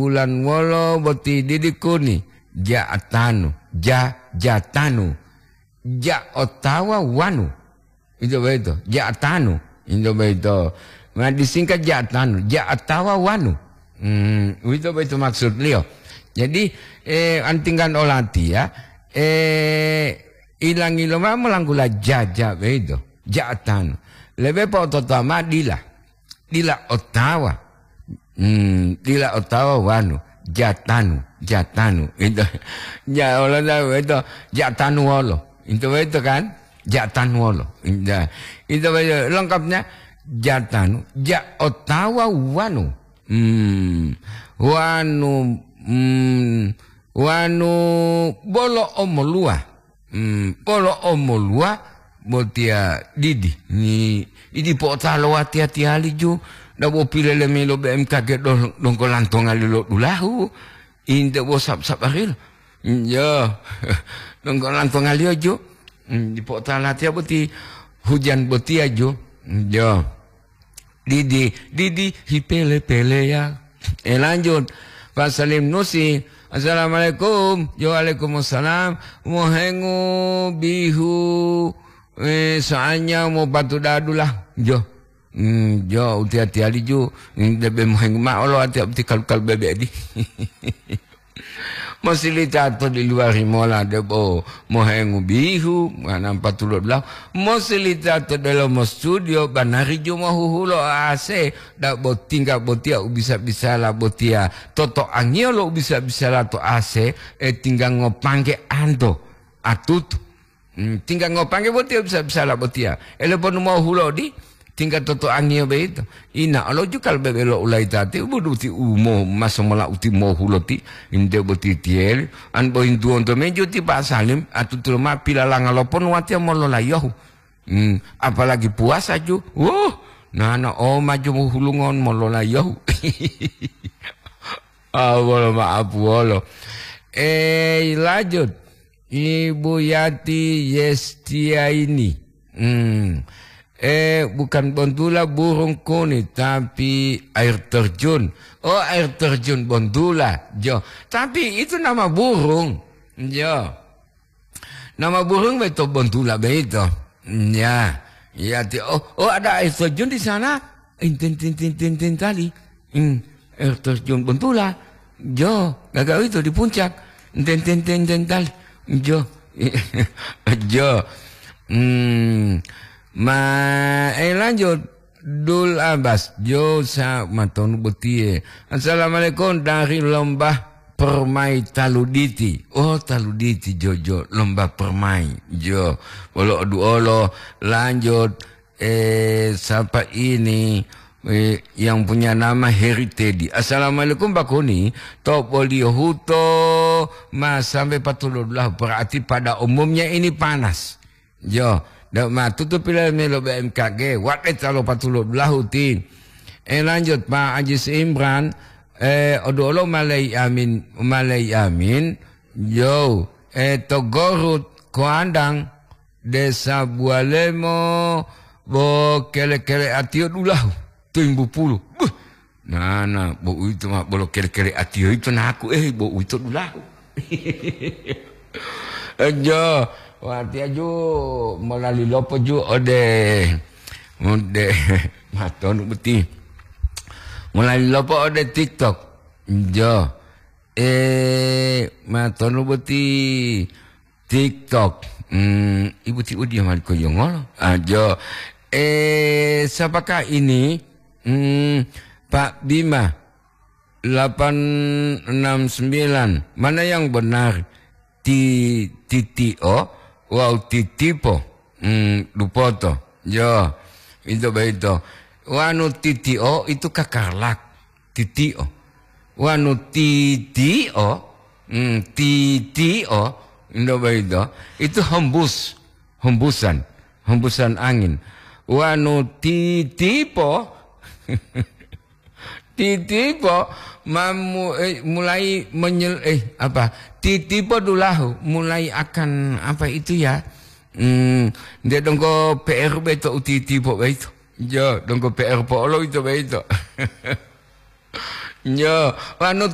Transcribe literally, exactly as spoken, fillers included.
Bulan wolo boti didi kuni? Ja'atanu, ja, jatanu. Ja otawa wanu. Ito boyito, ja'atanu. Ito boyito. Ma disingkat ja'atanu, ja otawa wanu. Hmm, uwito boyito maksudliyo. Jadi, eh, antinggan olatiya, eh, ilangi lomao molanggula jaja boyito, ja'atanu. Lebe po'ototowa mao dila. Dila otawa. Hmm, dila otawa wanu. Jatanu, jatanu. Itu. Ja, wolo tahu itu. Jatanu wolo. Itu, itu kan? Jatanu wolo. Itu. Itu, itu lengkapnya. Jatanu, ja otawa wanu. Hmm. Wanu, hmm, wanu bolo omoluwa. Hmm, polo omoluwa botiya didi. Ni idi po'otalo watiya-tiyali ju, dabo pilele mayi lo B M K G do-, donggo lantongali lo dulahu. Inte bo sab-, sabarilo. Yo, donggo lantongaliyo ju. Hmm, di po'otalo watiya boti hujan botiya ju. Yo. Didi, didi, hipele-peleya. Eh, lanjut. Pak Salim Nusi, "Assalamualaikum." "Yo, waalaikumsalam." "Mohengu bihu, eh, soalnya mau bantu dadu lah." Jo. Hmm, jo, uti-atiyali ju. Hmm, debe mohengu ma'o lo ati abdi kalu-kalu bebe di. Mosilita to di luwari mola debo mohengu bihu, manampa tulo dulahu. Mosilita to delomo studio, banari ju mohuhulo A C, dabo tingga botiya u bisa-bisala botiya. Totoangiyo lo u bisa-bisala to A C, e tingga ngopangge anto, atutu. Hmm, tingga ngopangge botiya bisa-bisala botiya. Ele ponu mau hulodi, tingga totoangiyo boyito. Ina olo ju kal bebe lo ulayitati, buduti umo maso mola uti mo huloti, inde boti tiyeli. An bohintuwonto meju ti Pak Salim, atutulo ma pilalanga lo ponu watiya mololayohu. Hmm, apalagi puasa ju. Wuh, nana o maju hulungon mololayohu. Ah, wolo ma'apu wolo. Eh, lanjut. Ibu Yati Yestiaini. Hmm. Eh, bukan bontula burung kuni, tapi air terjun. Oh, air terjun bontula. Jo. Tapi itu nama burung. Jo. Nama burung beto bontula beito. Ya. Ya, ti-, oh, oh, ada air terjun di sana. Intin, tin, tin, tin, tin, tali. Hmm, air terjun Bontula. Jo, gaga itu di puncak. Ten, ten, ten, ten, tal. Jo. Jo. Hmm. Ma, eh, lanjut. Dul Abbas, jo sa matonu botiye. "Assalamualaikum dari lomba permai Taluditi." Oh, Taluditi, jo, jo, lomba permai. Jo. Wolo oduolo, lanjut. Eh, siapa ini? Eh, yang punya nama Heri Teddy. "Assalamualaikum, Pak Kuni. To boliyo huto ma sampai patulodulaho, berarti pada umumnya ini panas." Jo, da-, ma tutup pila melo B M K G, wate talo patulodulahu ti. Eh, lanjut, Pak Ajis Imran. Eh, oduolo malai amin, malai amin. Jo, eh, to Gorut, Koandang. Desa Bualemo, bo kele-kele atiyo dulahu, timbu pulu. Buh, nana, bo uwito ma bolo kele-kele atiyo yito naku, eh, bo uwito dulahu. Jo, watiya ju molali lopo ju ode, ode, matonu boti. Molali lopo ode TikTok. Jo, eh, matonu boti. TikTok. Hmm, ibu ti udia mali ko yongolo. Ah, jo. Eh, siapakah ini? Hmm, Pak Bima, delapan enam sembilan. Mana yang benar? Ti-, titio, wau titipo. Hmm, dupoto. Jo, itu begitu. Wanu titio itu kakarlak. Titio. Wanu titio, hmm, titio, ndo boyito, itu hembus, hembusan, hembusan angin. Wanu titipo, titipo, mamu-, eh, mulai menyel-, eh, apa, titipo dulahu, mulai akan, apa itu ya, hmm, nde donggo P R beto u titipo boyito. Jo, donggo P R po'olo ito boyito. Jo, wanu